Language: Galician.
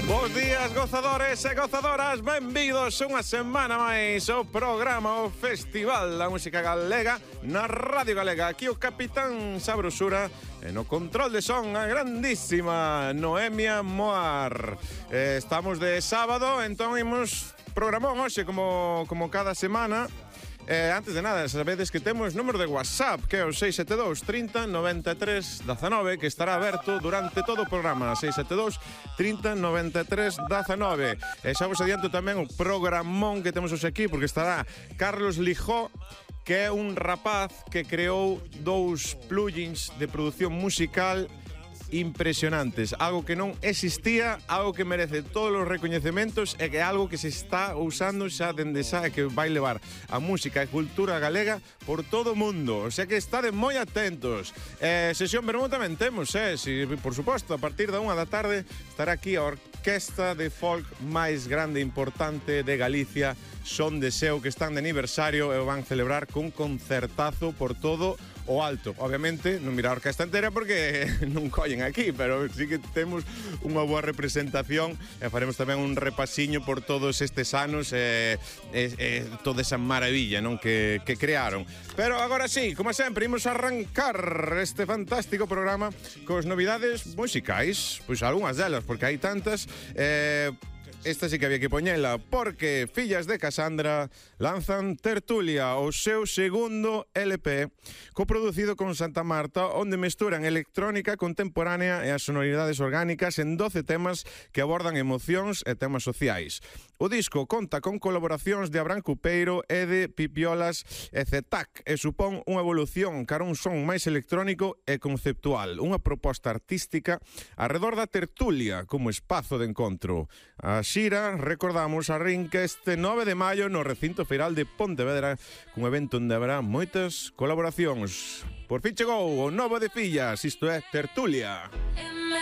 Bos días, gozadores e gozadoras. Benvidos unha semana máis ao programa, o Festival da Música Galega na Radio Galega. Aquí o Capitán Sabrosura e no control de son a grandísima Noemia Moar. Estamos de sábado, entón imos programón hoxe como cada semana. Antes de nada, sabedes que temos número de WhatsApp, que é o 672 30 93 19, que estará aberto durante todo o programa. 672 30 93 19. E xa vos adianto tamén o programón que temos hoxe aquí, porque estará Carlos Lijó, que é un rapaz que creou dous plugins de produción musical impresionantes, algo que non existía, algo que merece todos os recoñecementos e que é algo que se está usando xa dende xa e que vai levar a música e cultura galega por todo o mundo, o sea que estade moi atentos. Sesión vermú tamén temos, por suposto, a partir da 1 da tarde estará aquí a orquesta de folk máis grande e importante de Galicia, Son de Seu, que están de aniversario e o van celebrar cun concertazo por todo o alto. Obviamente, non mira a orquesta entera porque non collen aquí, pero sí que temos unha boa representación e faremos tamén un repasiño por todos estes anos e toda esa maravilla, non, que crearon. Pero agora sí, como sempre, imos arrancar este fantástico programa cos novidades musicais, pois algunhas delas, porque hai tantas. Esta sí que había que poñela, porque Fillas de Casandra lanzan Tertulia, o seu segundo LP, coproducido con Santa Marta, onde mesturan electrónica contemporánea e as sonoridades orgánicas en 12 temas que abordan emocións e temas sociais. O disco conta con colaboracións de Abraham Cupeiro e de Pipiolas e Zetac, e supón unha evolución cara a un son máis electrónico e conceptual, unha proposta artística arredor da tertulia como espazo de encontro. A xira, recordamos, arrinca este 9 de maio no recinto feiral de Pontevedra, cun evento onde haberá moitas colaboracións. Por fin chegou o novo de Fillas, isto é Tertulia.